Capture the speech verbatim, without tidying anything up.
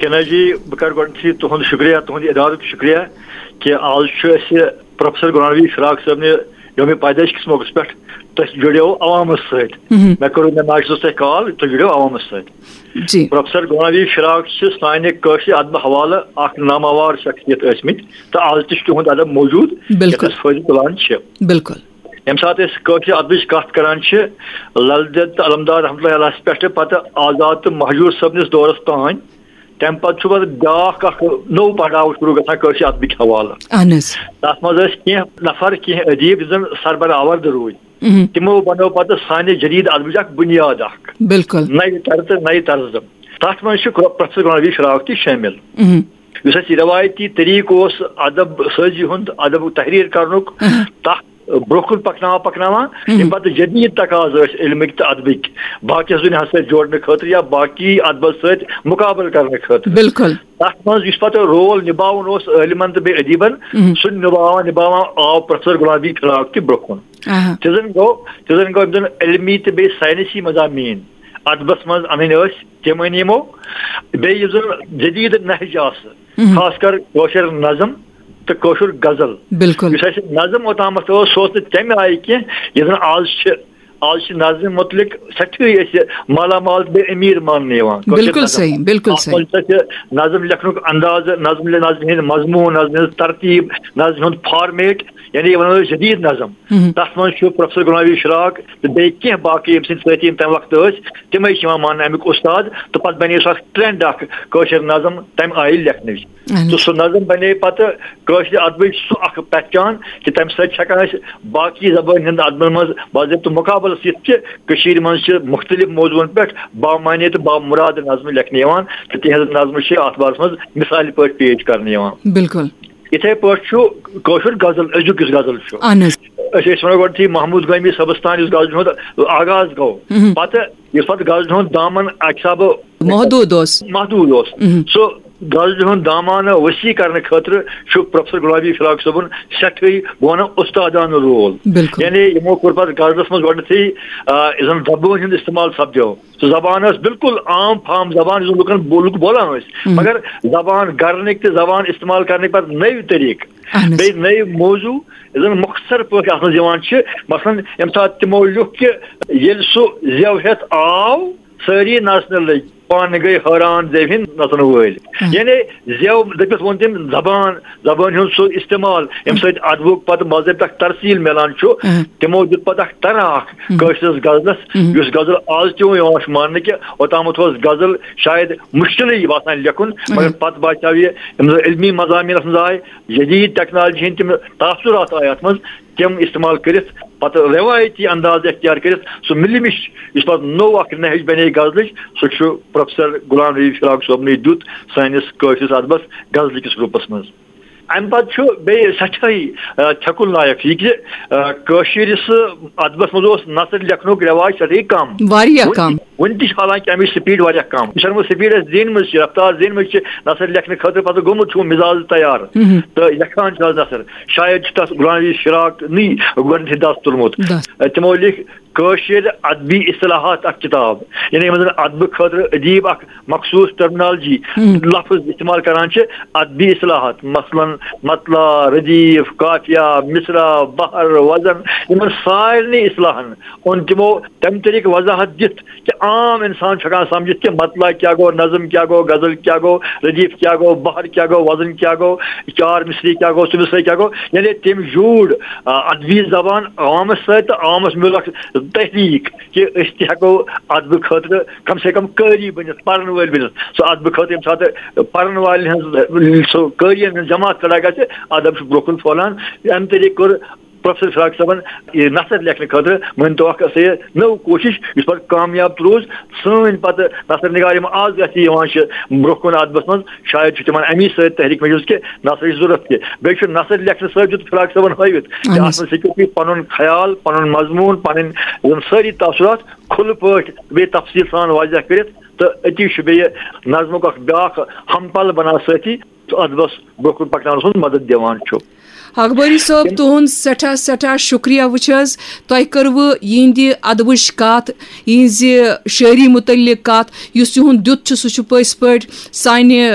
کینا جی، بہٕ کرٕ گۄڈٕنیتھٕے تُہُنٛد شُکریہ، تُہُنٛد ادارُک شُکریہ کہِ آز چھُ اَسہِ پروفیسر غلام نبی فراق صٲبنہِ یومِ پیدٲئش کِس موقعس پٮ۪ٹھ تُہۍ جُڑیو عوامس سۭتۍ۔ مہم۔ مےٚ کٔرٕو، مےٚ ناچ تۄہہِ کال، تُہۍ جُڑیو عوامس سۭتۍ۔ جی۔ پروفیسر غلام نبی فراق چھِ سانہِ کٲشرِ ادبہٕ حوالہٕ اکھ ناماوار شخصیت ٲسمٕتۍ تہٕ آز تہِ چھُ تِہُنٛد ادب موجود، یَتھ بِلکُل۔ أسۍ فٲیدٕ تُلان چھِ۔ بِلکُل۔ ییٚمہِ ساتہٕ أسۍ کٲشرِ ادبٕچ کتھ کران چھِ، لل دٮ۪د تہٕ علمدار رحمتہ اللہ علیہ پٮ۪ٹھٕ پتہٕ آزاد تہٕ مہجور صٲبنِس دورس تام، تَمہِ پتہٕ چھُ پتہٕ بیٛاکھ اکھ نوٚو پڑاو شروع گژھان کٲشرِ ادبٕکۍ حوالہٕ۔ اہن حظ۔ تَتھ منٛز ٲسۍ کینٛہہ نفر، کینٛہہ ادیٖب، یِم زن سربرآورد روٗدۍ۔ مہم۔ تِمو بنٲو پتہٕ سانہِ جدید ادبٕچ اکھ بُنیاد اکھ۔ بِلکُل۔ نَیہِ طرزٕ، نَیہِ طرزٕ۔ تَتھ منٛز چھُ پرو-، پروفیسر غلام نبی فراق تہِ شٲمِل۔ مہم۔ یُس اَسہِ یہِ رٮ۪وایتی طریٖقہٕ اوس ادب سٲزی ہُنٛد، ادب تحریر کرنُک، اہم۔ تَتھ برونٛہہ کُن پکناوان پکناوان، مہم۔ ییٚمہِ پتہٕ جدید تقاضہٕ ٲسۍ علمٕکۍ تہٕ ادبٕکۍ باقیس دُنیاہس سۭتۍ جوڑنہٕ خٲطرٕ یا باقی ادبس سۭتۍ مقابلہٕ کرنہٕ خٲطرٕ۔ بِلکُل۔ تتھ منٛز یُس پتہٕ رول نباوُن اوس عٲلمن تہٕ بیٚیہِ ادیبن، مہم۔ سُہ نباوان نباوان آو پروفیسر غلام نبی فراق تہِ برونٛہہ کُن۔ آہا۔ تہِ زن گوٚو، تہِ زن گوٚو أمۍ زن علمی تہٕ بیٚیہِ ساینسی مضامین ادبس منٛز انٕنۍ ٲسۍ، تِم أنۍ یِمو۔ بیٚیہِ یُس زن جدید نہج آسہٕ، مہم۔ خاص کر کٲشُر نظم تہٕ کٲشُر غزل۔ بِلکُل۔ یُس اَسہِ نظم اوٚتامَتھ اوس، سُہ اوس نہٕ تَمہِ آیہِ کینٛہہ، یُس زَن آز چھِ۔ آز چھِ نظمہِ مُتعلِق سٮ۪ٹھٕے أسۍ مالا مال تہٕ بیٚیہِ أمیٖر ماننہٕ یِوان۔ کٲشِر بِلکُل نظم۔ صحیح، بِلکُل اَتھ صحیح۔ منٛز چھِ اَسہِ نظم لیکھنُک اندازٕ، نظم، نظمہِ ہٕنٛدۍ مضموٗن، نظمہِ ہٕنٛز ترتیٖب، نظمہِ ہُنٛد فارمیٹ، یعنی یہِ وَنو أسۍ جدید نظم۔ مہم۔ تَتھ منٛز چھُ پروفیسر غلام نبی فراق تہٕ بیٚیہِ کینٛہہ باقٕے ییٚمہِ سٕنٛدۍ سۭتۍ یِم تَمہِ وقتہٕ ٲسۍ، تِمے چھِ یِوان ماننہٕ اَمیُک اُستاد۔ تہٕ پَتہٕ بَنے سُہ اَکھ ٹرٛینڈ اَکھ کٲشِر نظم تَمہِ آیہِ لیکھنٕچ۔ اہن تہٕ حظ۔ سُہ نظم بَنے پَتہٕ کٲشرِ ادبٕچ سُہ اَکھ پہچان کہِ تَمہِ سۭتۍ چھِ ہٮ۪کان أسۍ باقٕے زبٲنۍ ہٕنٛدۍ ادبن منٛز باضٲبطہٕ مقابلس یِتھ کہِ کٔشیٖرِ منٛز چھِ مُختٔلِف موضوعن پٮ۪ٹھ بامعنی تہٕ بامُراد نظمہٕ لیکھنہٕ یِوان تہٕ تِہنٛز نظمہٕ چھِ اَتھ بارس منٛز مثالہِ پٲٹھۍ پیش کرنہٕ یِوان۔ بِلکُل۔ یِتھے پٲٹھۍ چھُ کٲشُر غزل، أزیُک یُس غزل چھُ۔ اہن حظ۔ أسۍ ٲسۍ وَنان گۄڈٕنیتھٕے محمود گٲمی صٲبس تام یُس غزلہِ ہُنٛد آغاز گوٚو۔ مہم۔ پتہٕ یُس پتہٕ غزلہِ ہُنٛد دامن اکہِ حسابہٕ محدوٗد اوس۔ محدوٗد اوس۔ مہم۔ سُہ غزلہِ ہُنٛد دامانہٕ وسیع کرنہٕ خٲطرٕ چھُ پروفیسر غلام نبی فراق صٲبُن سٮ۪ٹھٕے، بہٕ وَنہٕ، اُستادانہٕ رول۔ بِلکُل۔ یعنی یِمو کوٚر پتہٕ غزلس منٛز گۄڈٕنیتھٕے، آ، یُس زن زبٲنۍ ہُنٛد استعمال سپدیو۔ سُہ زبان ٲس بِلکُل عام فام زبان، یُس زَن لُکن بو-، لُکھ بولان ٲسۍ۔ مہم۔ مگر زبان گرنٕکۍ تہٕ زبان استعمال کرنٕکۍ پتہٕ نٔوۍ طریٖقہٕ، اہن حظ۔ بیٚیہِ نٔوۍ موضوع، یُس زَن مۄختصر پٲٹھۍ اَتھ منٛز یِوان چھِ۔ مثلاً، ییٚمہِ ساتہٕ تِمو لیوٚکھ کہِ ییٚلہِ سُہ زٮ۪و ہٮ۪تھ آو، سٲری نژنہٕ لٔگۍ، پانہٕ گٔے حٲران زٮ۪و ہِنٛدۍ نژن وٲلۍ۔ اہن۔ یعنی زٮ۪و دٔپِتھ ووٚن تٔمۍ زبان، زبٲنۍ ہُنٛد سُہ استعمال، ییٚمہِ سۭتۍ ادبُک پتہٕ مذہب تک ترسیٖل میلان چھُ۔ اہن۔ تِمو دیُت پتہٕ اکھ طرح اکھ اہن۔ کٲشرِس غزلس، اہن۔ یُس غزل آز تہِ یِوان چھُ ماننہٕ کہِ اوٚتامَتھ اوس غزل شاید مُشکِلٕے باسان لیکھُن، مگر اہن۔ پتہٕ باسیو یہِ، یِم زَن علمی مضامینس منٛز آے، جدید ٹیکنالوجی ہٕنٛدۍ تِم تاثرات آے اتھ منٛز، تِم استعمال کٔرِتھ پتہٕ رٮ۪وایتی انداز اختیار کٔرِتھ سُہ مِلہِ مِش، یُس پتہٕ نوٚو اکھ نہج بنے غزلٕچ، سُہ چھُ پروفیسر غلام نبی فراق صٲبنٕے دیُت سٲنِس کٲشرِس ادبس غزلہٕ کِس روٗپس منٛز۔ امہِ پتہٕ چھُ بیٚیہِ سٮ۪ٹھاہٕے، آ، چھکُل لایق یہِ کہِ، آ، کٲشرِس ادبس منٛز اوس نثر لیکھنُک رٮ۪واج سٮ۪ٹھاہٕے کم۔ واریاہ وُنہِ کم۔ تہِ، وُنہِ تہِ چھِ حالانکہ امِچ سپیڈ واریاہ کم۔ یہِ چھنہٕ وۄنۍ سپیڈ اسہِ زینمٕژ چھِ، رفتار زینمٕژ چھِ نثر لیکھنہٕ خٲطرٕ، پتہٕ گوٚمُت چھُ مِزاز تیار۔ مہم۔ تہٕ لیکھان چھِ آز نثر۔ شاید چھُ تتھ غلام نبی فراق نٕے گۄڈنیتھٕے دست تُلمُت۔ دست۔ آ، تِمو لیکھۍ کٲشِر ادبی اصطلاحات اکھ کتاب، یعنی یِمن زن ادبہٕ خٲطرٕ ادیب اکھ مخصوص ٹرمنالوجی، ہم۔ لفظ استعمال کران چھِ، ادبی اصطلاحات، مثلاً مطلع، ردیف، قافیہ، مصرع، بحر، وزن، یِمن سارنٕے اصطلاحن اوٚن تِمو تمہِ طریقہٕ وضاحت دِتھ کہِ عام انسان چھُ ہٮ۪کان سمجھِتھ کہِ مطلع کیٛاہ گوٚو، نظم کیٛاہ گوٚو، غزل کیٛاہ گوٚو، ردیف کیٛاہ گوٚو، بحر کیٛاہ گوٚو، وزن کیٛاہ گوٚو، چار مصرعی کیٛاہ گوٚو، ژٕ مصرعی کیٛاہ گوٚو، یعنی تٔمۍ جوٗڑ، آ، ادبی زبان عوامس سۭتۍ تہٕ عوامس میوٗل اکھ تحریک کہِ أسۍ تہِ ہٮ۪کو ادبہٕ خٲطرٕ کم سے کم قٲری بٔنِتھ، پرن وٲلۍ بٔنِتھ۔ سُہ ادبہٕ خٲطرٕ ییٚمہِ ساتہٕ پرن والٮ۪ن ہٕنٛز، سُہ قٲرین ہٕنٛز جماعت کھڑا گژھِ، ادب چھُ برونٛہہ کُن پھۄلان۔ امہِ طریقہٕ کوٚر پروفیسر فراق صٲبن یہِ نثر لیکھنہٕ خٲطرٕ، مٲنۍ تو اکھ سا یہِ نٔو کوٗشش، یُس پتہٕ کامیاب تہِ روٗز۔ سٲنۍ پتہٕ نثر نگار یِم آز یتھ یِوان چھِ برونٛہہ کُن ادبس منٛز، شاید چھُ تِمن امی سۭتۍ تحریک میجز کہِ نثرٕچ ضروٗرت تہِ۔ بیٚیہِ چھُ نثر لیکھنہٕ سۭتۍ دیُت فراق صٲبن ہٲوِتھ کہِ اہن حظ۔ اتھ منٛز ہیٚکِو تُہۍ پنُن خیال، پنُن مضموٗن، پنٕنۍ یِم سٲری تاثرات کھُلہٕ پٲٹھۍ بیٚیہِ تفصیٖل سان واضح کٔرِتھ، تہٕ أتی چھُ بیٚیہِ نظمُک اکھ بیٛاکھ ہم پل بنان سۭتی، تہٕ ادبس برونٛہہ کُن پکناونس منٛز مدد دِوان چھُ۔ اخبٲری صٲب، تُہُنٛد سٮ۪ٹھاہ سٮ۪ٹھاہ شُکریہ۔ وٕچھ حظ، تۄہہِ کٔروٕ یِہِنٛدِ ادبٕچ کَتھ، یِہِنٛزِ شٲعری مُتعلِق کَتھ، یُس یِہُنٛد دیُت چھُ، سُہ چھُ پٔزۍ پٲٹھۍ سانہِ